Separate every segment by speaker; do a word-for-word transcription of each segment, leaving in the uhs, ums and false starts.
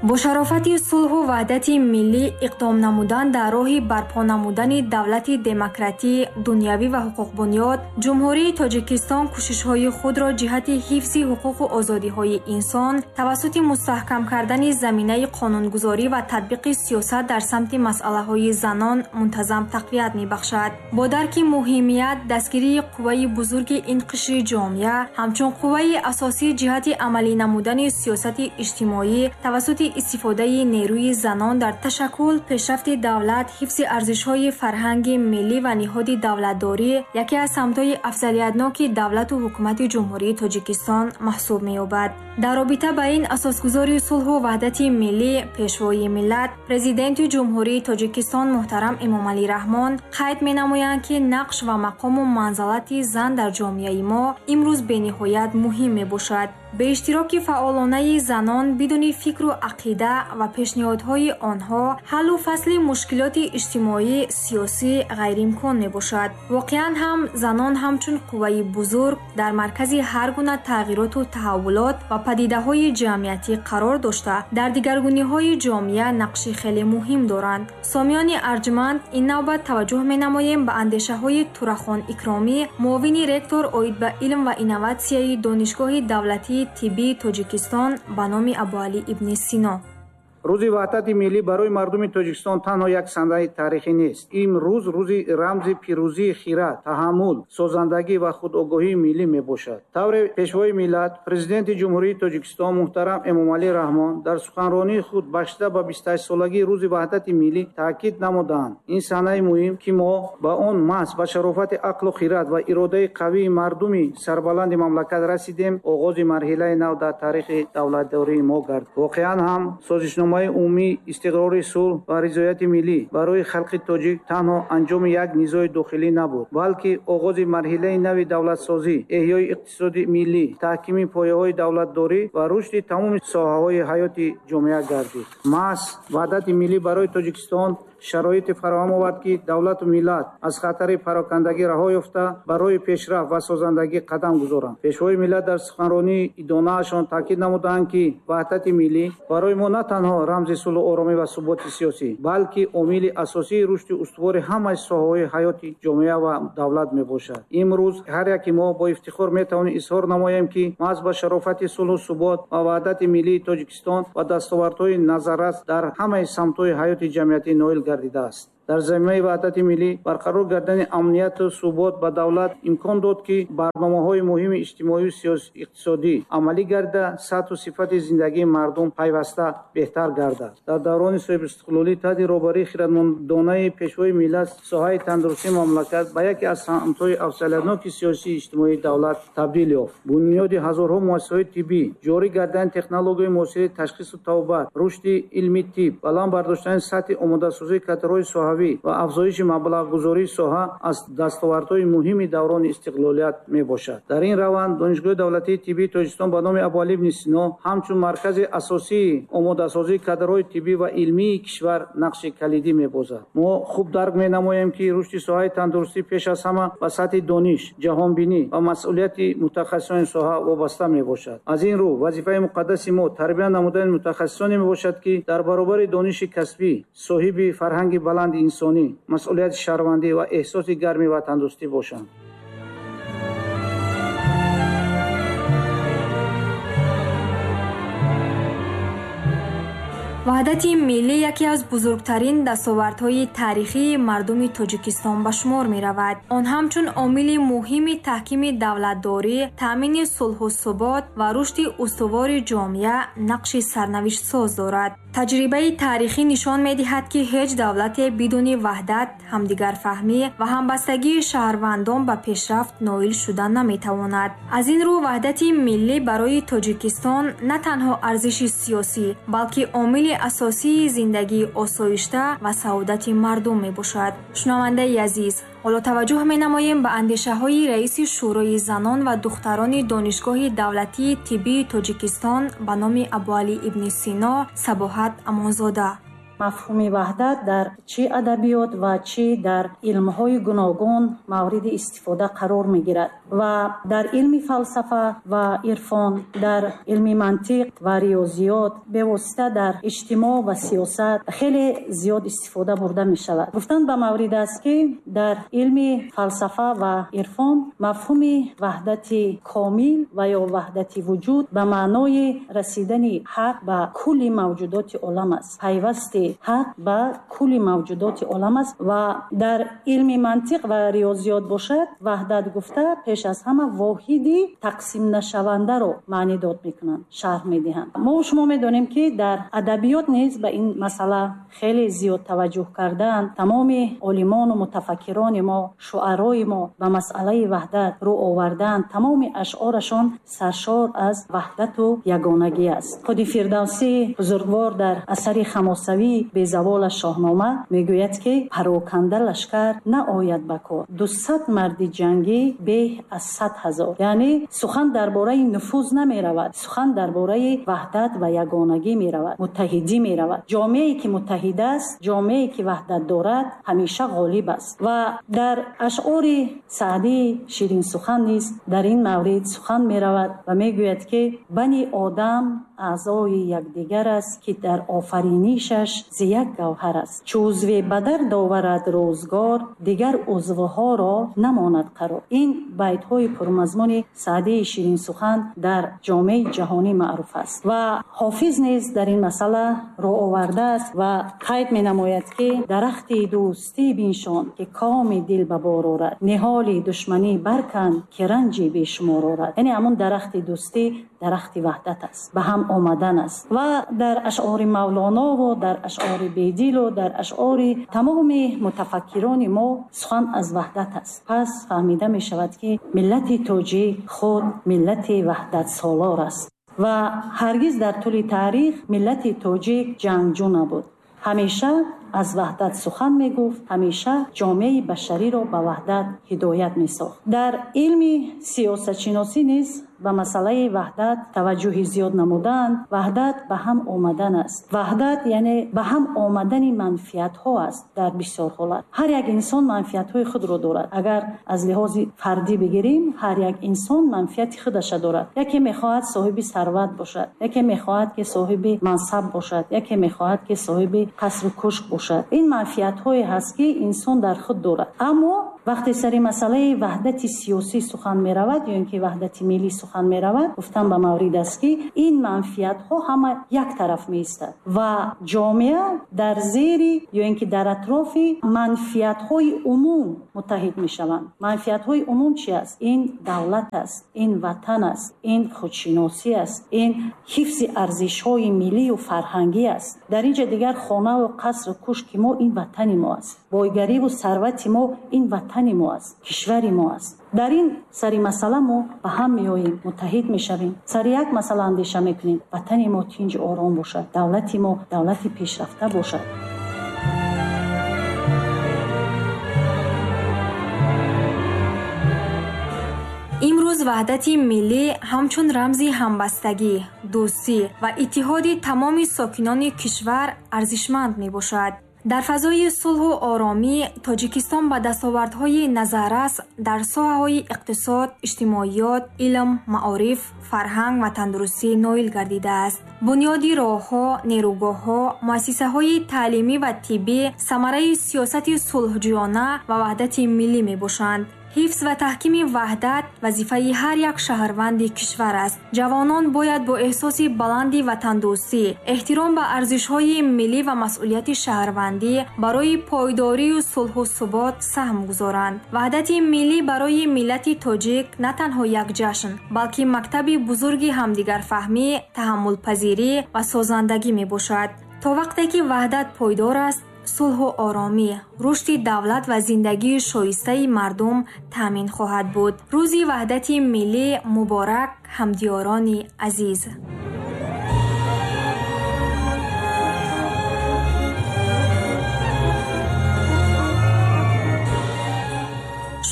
Speaker 1: Бо шарофати сулҳу ваҳдати миллӣ иқдом намудан дар роҳи барпо намудани давлати демократӣ, дунявӣ ва ҳуқуқбунёд, Ҷумҳурии Тоҷикистон кӯшишҳои худро ҷиҳати ҳифзи ҳуқуқу озодиҳои инсон тавассути мустаҳкам кардани заминаи қонунгузорӣ ва татбиқи сиёсат дар самти масъалаҳои занон мунтазам тақвият мебахшад. Бо дарки муҳимият, дастгирии қувваи бузурги ин қишри ҷомеа ҳамчун қувваи асосӣ ҷиҳати амалӣ намудани сиёсати иҷтимоӣ тавассути истифодаи нерӯи занон дар ташаккул, пешрафти давлат, ҳифзи арзишҳои фарҳанги миллӣ ва ниҳоди давлатдорӣ яке аз самтҳои афзалиятноки давлату ҳукумати Ҷумҳурии Тоҷикистон маҳсуб меёбад. Дар робита ба ин асосгузори сулҳу ваҳдати миллӣ, Пешвои миллат, Президенти Ҷумҳурии Тоҷикистон муҳтарам Эмомалӣ Раҳмон қайд менамоянд, ки нақш ва мақому манзалати зан дар ҷомеаи мо имрӯз бениҳоят муҳим мебошад. Бе иштироки фаъолонаи занон бидуни фикру ақида ва пешниҳодҳои онҳо ҳаллу фасли мушкилоти иҷтимоӣ, сиёсӣ ғайриимкон мебошад. Воқеан ҳам занон ҳамчун қувваи бузург дар маркази ҳар гуна тағйироту таҳаввулот ва падидаҳои ҷамъиятӣ қарор дошта, дар дигаргуниҳои ҷомеа нақши хеле муҳим доранд. Сомиёни арҷманд, ин навбат таваҷҷӯҳ менамоем ба андешаҳои Турахон Икромӣ, муовини ректор оид ба илм ва инноватсияи Донишгоҳи давлатии тиббии Тоҷикистон ба номи Абуалӣ ибни Сино.
Speaker 2: Рӯзи ваҳдати миллӣ барои мардуми Тоҷикистон танҳо як санаи таърихӣ нест. Ин рӯз рӯзи рамзи пирӯзии хират, таҳаммул, созандагӣ ва худогоҳии миллӣ мебошад. Тавре Пешвои миллат, Президенти Ҷумҳурии Тоҷикистон муҳтарам Эмомалӣ Раҳмон дар суханронии худ бахшида ба бистуҳаштсолагии рӯзи ваҳдати миллӣ таъкид намуданд. Ин санаи муҳим, ки мо ба он маҳз ба шарофати ақлу хират ва иродаи қавии мардуми сарбаланди мамлакат расидем, оғози марҳилаи нав дар таърихи давлатдории мо гардид. Воқеан ҳам созишнома умумии истиқрори сулҳ ва ризояти миллӣ барои халқи тоҷик танҳо анҷоми як низои дохилӣ набуд, балки оғози марҳилаи нави давлатсозӣ, эҳёи иқтисоди миллӣ, таҳкими пояҳои давлатдорӣ ва рушди тамоми соҳаҳои ҳаёти ҷомеа гардид. Маҳз ваҳдати миллӣ барои Тоҷикистон шароите фароҳам овард, ки давлату миллат аз хатари парокандагӣ раҳо ёфта, барои пешрафт ва созандагӣ қадам гузоранд. Пешвои миллат дар суханронии идонаашон таъкид намуданд, ки ваҳдати миллӣ барои мо на танҳо рамзи сулҳу оромӣ ва суботи сиёсӣ, балки омили асосии рушди устувори ҳамаи соҳаҳои ҳаёти ҷомеа ва давлат мебошад. Имрӯз ҳар яки мо бо ифтихор метавонем изҳор намоем, ки маҳз ба шарофати сулҳу субот ва ваҳдати миллии Тоҷикистон ва дастовардҳои назаррас дар ҳамаи самтҳои ҳаёти ҷамъиятӣ ноил гардидааст. Дар заминаи ваҳдати миллӣ барқарор гардани амнияту субот ба давлат имкон дод, ки барномаҳои муҳими иҷтимоию иқтисодӣ амалӣ гарда, сатҳу сифати зиндагии мардум пайваста беҳтар гардад. Дар даврони соҳибистиқлолӣ таҳти роҳбарии хиратмандонаи Пешвои миллат соҳаи тандурустии мамлакат ба яке аз самтҳои афзалиятноки сиёсию иҷтимоии давлат табдил ёфт. Бунёди ҳазорҳо муассисаҳои тиббӣ, ҷорӣ гардани технологияи муосири ташхису табобат, рушди илми тиб, баланд бардоштани сатҳи омодасозии кадрҳои соҳавӣ ва афзоиши маблағгузории соҳа аз дастовардҳои муҳими даврони истиқлолият мебошад. Дар ин раванд Донишгоҳи давлатии тиббии Тоҷикистон ба номи Абуалӣ ибни Сино ҳамчун маркази асосии омодасозии кадрҳои тиббӣ ва илмии кишвар нақши калидӣ мебозад. Мо хуб дарк менамоем, ки рушди соҳаи тандурустӣ пеш аз ҳама ба сатҳи дониш, ҷаҳонбинӣ ва масъулияти мутахассисони соҳа вобаста мебошад. Аз ин рӯ вазифаи муқаддаси мо тарбия намудани мутахассисоне мебошад, ки дар баробари дониши касбӣ соҳиби фарҳанги баланди инсонӣ, масъулияти шаҳрвандӣ ва эҳсоси гарми ватандӯстӣ бошанд.
Speaker 1: Ваҳдати миллӣ яке аз бузургтарин дастовардҳои таърихии мардуми Тоҷикистон ба шумор меравад. Он ҳамчун омили муҳими таҳкими давлатдорӣ, таъмини сулҳу субот ва рушди устувори ҷомеа нақши сарнавиштсоз дорад. Таҷрибаи таърихӣ нишон медиҳад, ки ҳеҷ давлате бидуни ваҳдат, ҳамдигарфаҳмӣ ва ҳамбастагии шаҳрвандон ба пешрафт ноил шуда наметавонад. Аз ин рӯ ваҳдати миллӣ барои Тоҷикистон на танҳо арзиши сиёсӣ, балки омили асосии зиндагии осоишта ва саодати мардум мебошад. Шунавандаи азиз, ҳоло таваҷҷӯҳ менамоем ба андешаҳои раиси Шӯрои занон ва духтарони Донишгоҳи давлатии тиббии Тоҷикистон ба номи Абуалӣ ибни Сино Сабоҳат Амонзода.
Speaker 3: Мафҳуми ваҳдат дар чӣ адабиёт ва чӣ дар илмҳои гуногун мавриди истифода қарор мегирад ва дар илми фалсафа ва ирфон, дар илми мантиқ ва риёзиёт, бевосита дар иҷтимоъ ва сиёсат хеле зиёд истифода бурда мешавад. Гуфтан ба маврид аст, ки дар илми фалсафа ва ирфон мафҳуми ваҳдати комил ва ё ваҳдати вуҷуд ба маънои расидани ҳақ ба кулли мавҷудоти олам аст. Пайвасти ҳақ ба кулли мавҷудоти олам аст ва дар илми мантиқ ва риёзиёт бошад, ваҳдат гуфта пеш аз ҳама воҳиди тақсимнашавандаро маънидод мекунанд, шарҳ медиҳанд. Мо шумо медонем, ки дар адабиёт низ ба ин масъала хеле зиёд таваҷҷӯҳ кардаанд. Тамоми олимону мутафаккирони мо, шуарои мо ба масъалаи ваҳдат рӯ овардаанд. Тамоми ашъорашон саршор аз ваҳдату ягонагӣ аст. Худи Фирдавсӣ бузургвор дар асари хамосавӣ безавола Шоҳнома мегӯяд, ки пароканда лашкар наояд ба кор, дусад марди ҷангӣ беҳ аз сад ҳазор. Яъне сухан дар бораи нуфуз намеравад, сухан дар бораи ваҳдат ва ягонагӣ меравад, муттаҳидӣ меравад. Ҷомеае ки муттаҳид аст, ҷомеае ки ваҳдат дорад, ҳамеша ғолиб аст. Ва дар ашъори Саъдии ширинсухан низ дар ин маврид сухан меравад ва мегӯяд, ки бани одам аъзои якдигар аст, ки дар офаринишаш зи як гавҳар аст. Чу узве ба дард оварад рӯзгор, дигар узвҳоро намонад қарор. Ин байтҳои пурмазмуни Саъдии ширинсухан дар ҷомеаи ҷаҳонӣ маъруф аст ва Ҳофиз низ дар ин масъала рӯ овардааст ва қайд менамояд, ки дарахти дӯстӣ биншон, ки коми дил ба бор орад, ниҳоли душманӣ баркан, ки ранҷи бешумор орад. Яъне ҳамон дарахти дӯстӣ дарахти ваҳдат аст, ба ҳам омадан аст. Ва дар ашъори Мавлонову дар ашъори Бедилу дар ашъори тамоми мутафаккирони мо сухан аз ваҳдат аст. Пас фаҳмида мешавад, ки миллати тоҷик худ миллати ваҳдатсолор аст ва ҳаргиз дар тӯли таърих миллати тоҷик ҷангҷӯ набуд. Ҳамеша аз ваҳдат сухан мегуфт, ҳамеша ҷомеаи башариро ба ваҳдат ҳидоят месохт. Дар илми сиёсатшиносӣ низ ба масъалаи ваҳдат таваҷҷӯҳи зиёд намуданд. Ваҳдат ба ҳам омадан аст. Ваҳдат яъне ба ҳам омадани манфиатҳо аст. Дар бисёр ҳолат ҳар як инсон манфиатҳои худро дорад. Агар аз лиҳози фардӣ бигирем, ҳар як инсон манфиати худаша дорад. Яке мехоҳад соҳиби сарват бошад, яке мехоҳад, ки соҳиби мансаб бошад, яке мехоҳад, ки соҳиби қасру кӯшк бошад. Ин манфиатҳое ҳаст, ки инсон дар худ дорад. Аммо вақте сари масъалаи ваҳдати сиёсӣ сухан меравад ё ин ки ваҳдати миллӣ сухан меравад, гуфтан ба маврид аст, ки ин манфиатҳо ҳама як тараф меистад ва ҷомеа дар зери ё ин ки дар атрофи манфиатҳои умум муттаҳид мешаванд. Манфиатҳои умум чи аст? Ин давлат аст, ин ватан аст, ин худшиносӣ аст, ин ҳифзи арзишҳои миллию фарҳангӣ аст. Дар ин ҷа дигар хонаву қасру кӯшки мо ин ватани мо аст, бойгариву сарвати мо ин ватани мо аст, кишвари мо аст. Дар ин сари масъала мо ба ҳам меоем, муттаҳид мешавем, сари як масъала андеша мекунем. Ватани мо тинҷ ором бошад, давлати мо давлати пешрафта бошад.
Speaker 1: Имрӯз ваҳдати миллӣ ҳамчун рамзи ҳамбастагӣ, дӯстӣ ва иттиҳоди тамоми сокинони кишвар арзишманд мебошад. Дар фазои сулҳу оромӣ Тоҷикистон ба дастовардҳои назаррас дар соҳаҳои иқтисод, иҷтимоиёт, илм, маориф, фарҳанг ва тандурустӣ ноил гардидааст. Бунёди роҳҳо, нерӯгоҳҳо, муассисаҳои таълимӣ ва тиббӣ самараи сиёсати сулҳҷӯёна ва ваҳдати миллӣ мебошанд. Ҳифз ва таҳкими ваҳдат вазифаи ҳар як шаҳрванди кишвар аст. Ҷавонон бояд бо эҳсоси баланди ватандӯстӣ, эҳтиром ба арзишҳои миллӣ ва масъулияти шаҳрвандӣ барои пойдорию сулҳу субот саҳм гузоранд. Ваҳдати миллӣ барои миллати тоҷик на танҳо як ҷашн, балки мактаби бузурги ҳамдигарфаҳмӣ, таҳаммулпазирӣ ва созандагӣ мебошад. То вақте ки ваҳдат пойдор аст, сулҳу оромӣ, рушди давлат ва зиндагии шоистаи мардум таъмин хоҳад буд. Рӯзи ваҳдати миллӣ муборак, ҳамдиёрони азиз!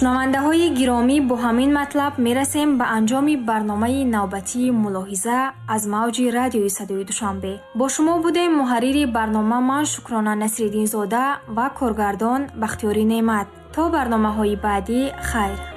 Speaker 1: Шунавандаҳои гиромӣ, бо ҳамин матлаб мерасем ба анҷоми барномаи навбатии «Мулоҳиза» аз мавҷи радиои Садои Душанбе. Бо шумо будем муҳаррири барнома ман, Шукрона Насриддинзода, ва коргардон Бахтиёрӣ Неъмат. То барномаҳои баъдӣ, хайр.